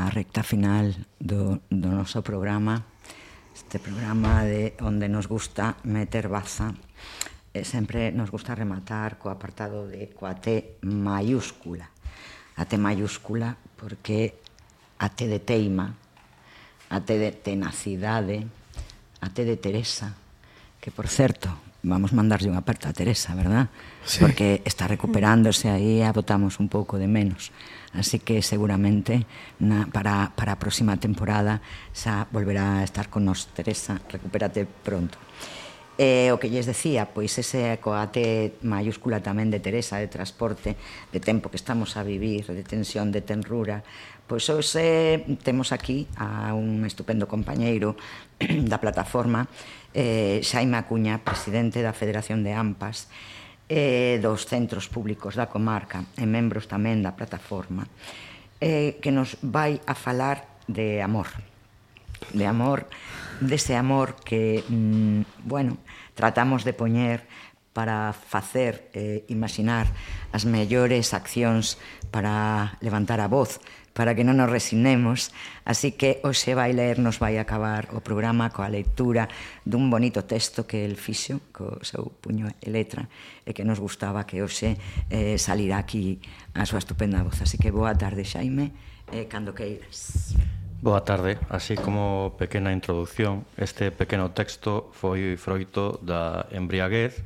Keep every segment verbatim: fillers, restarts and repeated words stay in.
a recta final do, do noso programa, este programa de onde nos gusta meter baza. E sempre nos gusta rematar co apartado de coa T mayúscula. A T mayúscula porque a T de teima, a T de tenacidade, a T de Teresa, que por certo, vamos mandarlle un aperto a Teresa, verdad? Sí. Porque está recuperándose aí, a botamos un pouco de menos. Así que seguramente na, para, para a próxima temporada xa volverá a estar con nos Teresa, recupérate pronto. E o que lles decía, pois ese coa T mayúscula tamén de Teresa, de transporte, de tempo que estamos a vivir, de tensión, de tenrura, pois hoxe temos aquí a un estupendo compañeiro da plataforma, eh, Xaime Acuña, presidente da Federación de AMPAs, eh, dos centros públicos da comarca e membros tamén da plataforma, eh, que nos vai a falar de amor, de amor, dese amor que, mmm, bueno, tratamos de poñer para facer, eh, imaginar as mellores accións para levantar a voz, para que non nos resignemos. Así que hoxe vai ler, nos vai acabar o programa coa lectura dun bonito texto que el fixo, co seu puño e letra, e que nos gustaba que hoxe eh, salirá aquí a súa estupenda voz. Así que boa tarde, Xaime, eh, cando queiras. Boa tarde. Así como pequena introducción, este pequeno texto foi froito da embriaguez,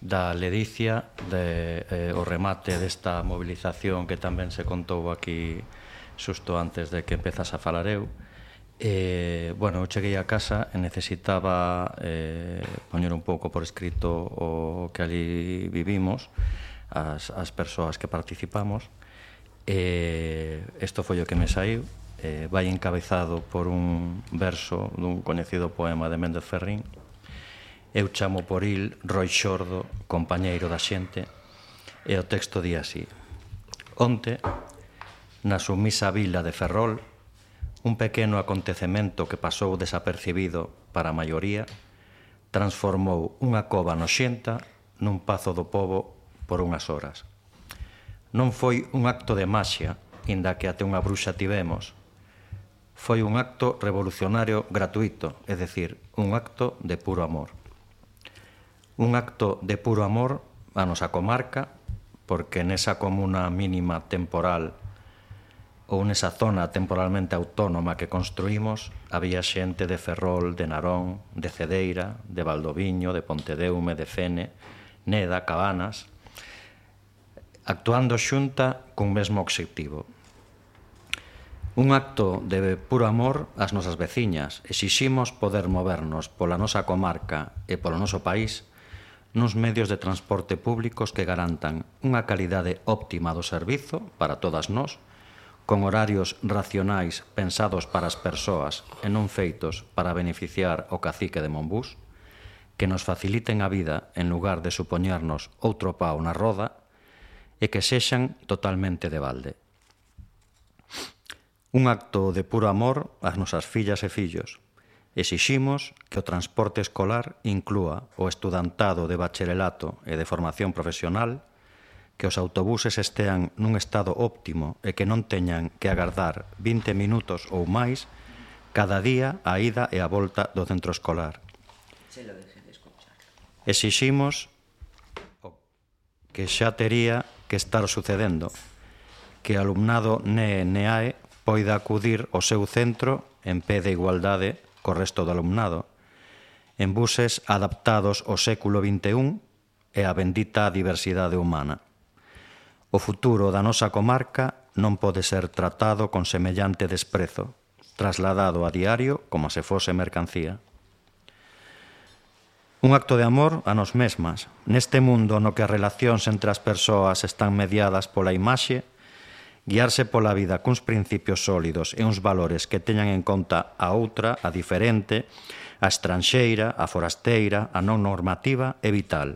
da ledicia, de, eh, o remate desta movilización que tamén se contou aquí xusto antes de que empezase a falar eu. E, bueno, eu cheguei a casa e necesitaba eh, poñer un pouco por escrito o que ali vivimos, as, as persoas que participamos. E isto foi o que me saiu. Eh, vai encabezado por un verso dun coñecido poema de Méndez Ferrín. Eu chamo por il Roi Xordo, compañeiro da xente, e o texto di así: onte, na sumisa vila de Ferrol, un pequeno acontecemento que pasou desapercibido para a maioría transformou unha cova noxenta nun pazo do pobo por unhas horas. Non foi un acto de maxia, inda que até unha bruxa tivemos. Foi un acto revolucionario gratuito, é dicir, un acto de puro amor. Un acto de puro amor a nosa comarca, porque nesa comuna mínima temporal ou nesa zona temporalmente autónoma que construímos había xente de Ferrol, de Narón, de Cedeira, de Valdoviño, de Pontedeume, de Fene, Neda, Cabanas, actuando xunta cun mesmo obxectivo. Un acto de puro amor ás nosas veciñas. Exiximos poder movernos pola nosa comarca e polo noso país nuns medios de transporte públicos que garantan unha calidade óptima do servizo para todas nós, con horarios racionais pensados para as persoas e non feitos para beneficiar o cacique de Monbús, que nos faciliten a vida en lugar de supoñernos outro pau na roda e que sexan totalmente de balde. Un acto de puro amor ás nosas fillas e fillos. Exiximos que o transporte escolar inclúa o estudantado de bacharelato e de formación profesional, que os autobuses estean nun estado óptimo e que non teñan que agardar vinte minutos ou máis cada día a ida e a volta do centro escolar. Exiximos o que xa tería que estar sucedendo, que o alumnado N E E N E A E poida acudir ao seu centro en pé de igualdade co resto do alumnado, en buses adaptados ao século vinte e un e á bendita diversidade humana. O futuro da nosa comarca non pode ser tratado con semellante desprezo, trasladado a diario como se fose mercancía. Un acto de amor a nos mesmas, neste mundo no que as relacións entre as persoas están mediadas pola imaxe, guiarse pola vida cuns principios sólidos e uns valores que teñan en conta a outra, a diferente, a estranxeira, a forasteira, a non normativa é vital.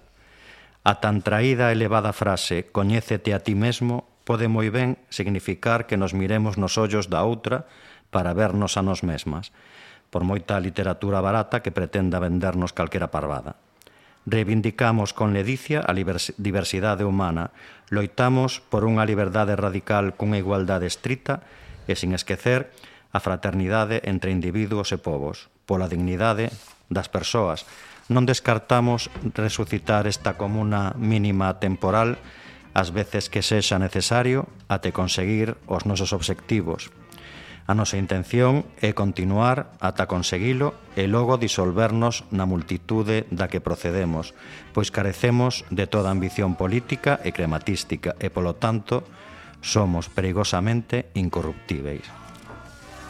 A tan traída e elevada frase «coñécete a ti mesmo» pode moi ben significar que nos miremos nos ollos da outra para vernos a nos mesmas, por moita literatura barata que pretenda vendernos calquera parvada. Reivindicamos con ledicia a diversidade humana, loitamos por unha liberdade radical cunha igualdade estrita e sin esquecer a fraternidade entre individuos e povos, pola dignidade das persoas. Non descartamos resucitar esta comuna mínima temporal ás veces que sexa necesario até conseguir os nosos obxectivos. A nosa intención é continuar ata conseguilo e logo disolvernos na multitude da que procedemos, pois carecemos de toda ambición política e crematística e, polo tanto, somos perigosamente incorruptíveis.